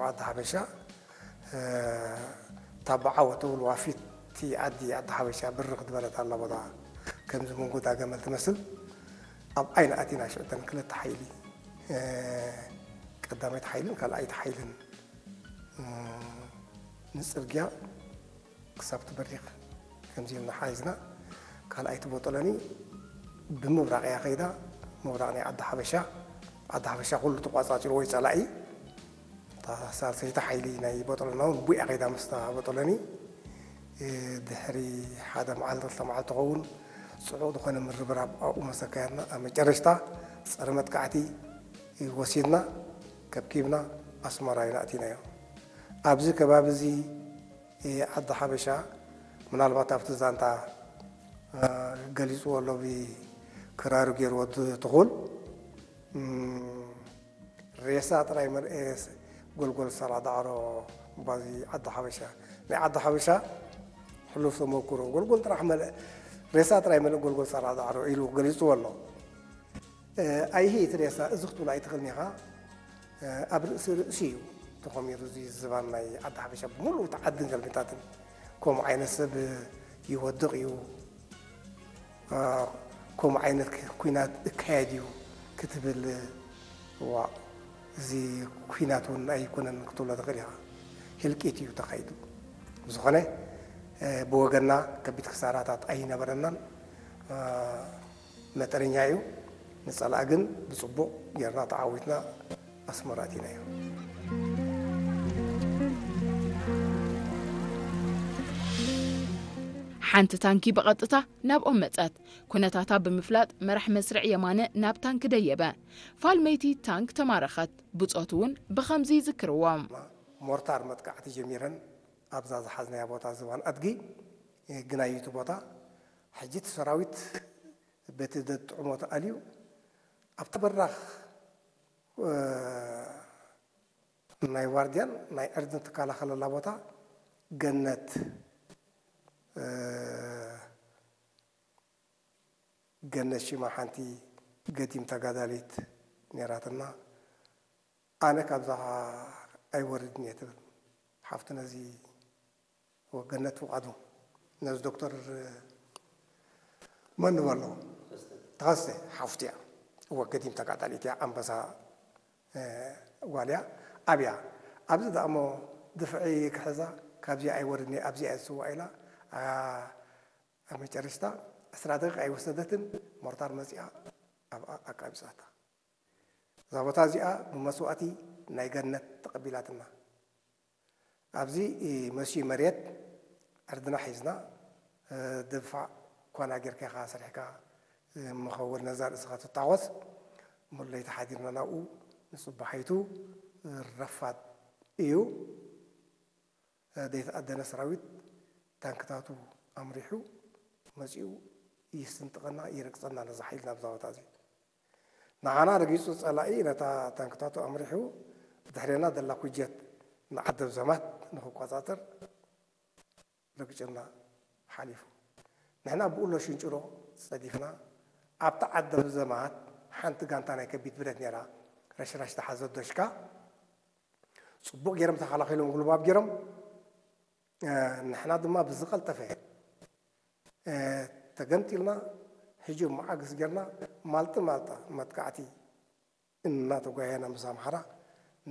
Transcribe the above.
ዓዲ ሓበሻ፣ እ፣ እታ ብዓወት ተውልዋ ፊት ዓዲ፣ ዓዲ ሓበሻ ብርኽ ዝበለት ኣላ ቦታ፣ ከምዚ መንጎዳ ገመል ትመስል። ኣብ ዓይና ኣቲና ሽዑ እተን ክልተ ሓይሊ፣ እ፣ ቀዳመይቲ ሓይልን ካልኣይቲ ሓይልን፣ እ፣ ንጽርግያ ክሳብ ትበሪኽ ከምዚ ኢልና ሓይዝና። ካልኣይቲ ቦጦሎኒ ብምብራቕ እያ ከይዳ። ምብራቕ ናይ ዓዲ ሓበሻ፣ ዓዲ ሓበሻ ኩሉ ተቋጻጺሩ ወይ ጸላኢ፣ እታ ሳልሰይቲ ሓይሊ ናይ ቦጦሎና እውን ቡያ ከይዳ ምስታ ቦጦሎኒ። እ፣ ድሕሪ ሓደ መዓልቲ ክልተ መዓልቲ ትኸውን ጽዑቕ ዝኾነ ምርብራብ ኣብኡ መሰካያና። ኣብ መጨረሽታ ጸረ መጥቃዕቲ ወሲድና ከብኪብና ኣስመራ ኢና ኣቲናዮ። ኣብዚ ከባቢ እዚ ዓዲ ሓበሻ፣ ምናልባት ኣብቲ ዛንታ፣ እ፣ ገሊጽዎ ኣሎ፣ ብክራሩ ገይርዎ ድ-፣ ትኹል፣ እም፣ ሬሳ ጥራይ መል-፣ ኤ፣ ስ-፣ ጎልጎል ሳላ ዳዕሮ፣ ባዚ ዓዲ ሓበሻ። ናይ ዓዲ ሓበሻ ሕሉፍ ተመኩሮ፣ ጎልጎል ጥራሕ መል-፣ ሬሳ ጥራይ መልእ ጎልጎል ሳላ ዳዕሮ ኢሉ ገሊጽዎ ኣሎ። እ፣ ኣይሂ እቲ ሬሳ እዚ ክትብሎ ኣይትኽእልን ኢኻ። እ፣ ኣብ ርእሲ ርእሲ እዩ ተኾሚሩ እዚ ዝባን ናይ ዓዲ ሓበሻ ብምሉእ እቲ ዓድን ገልቢታትን። ከምኡ ዓይነት ሰብ ይወድቕ እዩ፣ እ፣ ከምኡ ዓይነት ክ-፣ ኲናት እካየድ እዩ ክትብል፣ ዋ፣ እዚ ኲናት እውን ኣይኮነን ክትብሎ ትኽእል ኢኻ። ህልቂት እዩ ተኻይዱ። ብዝኾነ፣ እ፣ ብወገንና ከቢድ ክሳራታት ኣይነበረናን። እ፣ መጠነኛ እዩ። ንጸላእ ግን ብጽቡቕ ጌርና ተዓዊትና ኣስመራ ኣቲናዮ። ሓንቲ ታንኪ ብቐጥታ ናብኦም መጸት። ኩነታታ ብምፍላጥ መራሕ መስርዕ የማነ ናብ ታንክ ደየበ። ፋልመይቲ ታንክ ተማረኸት። ብጾት እውን ብኸምዚ ይዝክርዎም። ሞርታር መጥቃዕቲ ጀሚረን ኣብዛ ዝሓዝናያ ቦታ ዝባን ኣድጊ፣ እ፣ ግናዩ እቲ ቦታ። ሕጂ እቲ ሰራዊት በቲ ዘጥዕሞ ተኣልዩ ኣብቲ በራኽ፣ እ፣ ናይ ዋርድያን ናይ ዕርድን ትከላኸለላ ቦታ ገነት፣ እ፣ ገነት ሽማ ሓንቲ ገዲም ተጋዳሊት ነይራትና። ኣነ ካብዛ ኣይወርድን እየ ትብል ሓፍቱ ነዚ ወገነት ፍቓዱ፣ ነዚ ዶክተር መን ንበሎ? ተኸስተ ሓፍቱ እያ። እወ፣ ገዲም ተጋዳሊት እያ፣ ኣንበሳ፣ እ፣ ጓል እያ። ኣብያ፣ ኣብዚ ደኣ እሞ ድፍዒ ክሕዛ፣ ካብዚኣ ኣይወርድን እየ፣ ኣብዚኣ እየ ዝስዋእ ኢላ፣ ኣ፣ ኣብ መጨረሽታ ዕስራ ደቂቕ ኣይወሰደትን፣ ሞርታር መጺኣ ኣብኣ ኣቃቢጻታ። እዛ ቦታ እዚኣ ብመስዋእቲ ናይ ገነት ተቐቢላትና። ኣብዚ፣ እ፣ መስዩ መሬት ዕርድና ሒዝና፣ እ፣ ድፋዕ ኳና ጌርካ ኢኻ ሰሪሕካ፣ እ፣ መኸውን ነዛ ርእስኻ ትታወስ። ሙሉ ለይቲ ሓዲርና ናብኡ ንጽባሓይቱ፣ እ፣ ረፋድ እዩ። እ፣ ዘይተኣደነ ሰራዊት ታንክታቱ ኣምሪሑ መጺኡ ይስንጥቐና፣ ይረግጸና ነዛ ሓይልና ኣብዛ ቦታ እዚ። ንዓና ረጊጹ ጸላኢ ነታ ታንክታቱ ኣምሪሑ ብድሕሬና ዘላ ኩጀት ንዓደብ ዘማት ንኽቆጻጸር ረግጭና ሓሊፉ። ንሕና ብኡሎ ሽንጭሮ ጸዲፍና ኣብታ ዓደብ ዘማት ሓንቲ ጋንታ ናይ ከቢድ ብረት ነይራ፣ ረሽራሽ ተሓዘት ዶሽካ ጽቡቕ ገይሮም ተኸላኺሎም ጉልባብ ገይሮም። እ፣ ንሕና ድማ ብዝቐልጠፈ፣ እ፣ ተገምጢልና፣ ሕጂ መዓግስ ጌርና ማልጢ ማልጣ መጥቃዕቲ እናተጓየና ምስ ኣምሓራ